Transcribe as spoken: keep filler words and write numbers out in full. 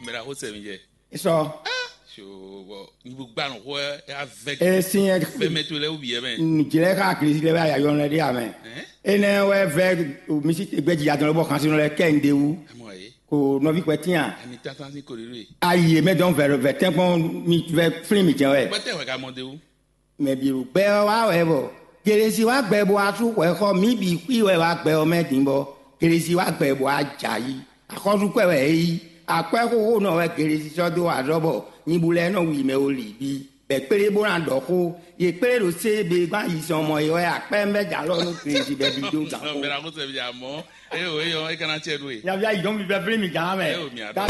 Mɛ ɖaxó sɛ mi jɛ. Sɔ. Bɔ nyibu gba nɔ xɔ ya vɛ. Esi yɛ. Vɛ mɛ to lɛ wuyɛ mɛ. Nujlɛ xa Kristi lɛ bɛ ayayɔ lɛ ɖe amɛ. Enɛ wɛ vɛ misi gbɛji atɔn lɛ bɔ xansi lɛ kɛ n de wu. Ko nɔvi kpɛ tiɲa. Ani tata si ko ɖe. Ayi mɛ dɔn vɛ vɛ tɛnkpɔn mi vɛ flin mi jɛ wɛ. Gbɛtɛ wɛ ka mɔ de wu. Mɛ bǐ ɖo gbɛ ɔ́ wá wɛ bɔ Gelesi wá gbɛ bɔ asú xwɛ xɔ mǐ bǐ xwí wɛ wá gbɛ ɔ́ mɛ din bɔ Gelesi wá gbɛ bɔ ajǎ yí. Axɔ́súkwɛ wɛ é yí. Akwɛ́ xóxó nɔ wɛ Gelesi sɔ́ dó azɔ́ bɔ nyibu lɛ́ɛ nɔ wi mɛ o lǐ bí. Bɛ kplé bó ná ɖɔ xó. Yě kplé ɖo sé be gbán yi sɔn mɔ é wɛ akwɛ́ mbɛ jà lɔ nú Gelesi bɛ bí dó gǎn xó. Mɛ la ko sɛ bi amɔ. Eyo eyo e kana tiɛ ɖo e. Yavia yi dɔn mi bɛ fili mi gǎn mɛ. Eyo mi a dɔn.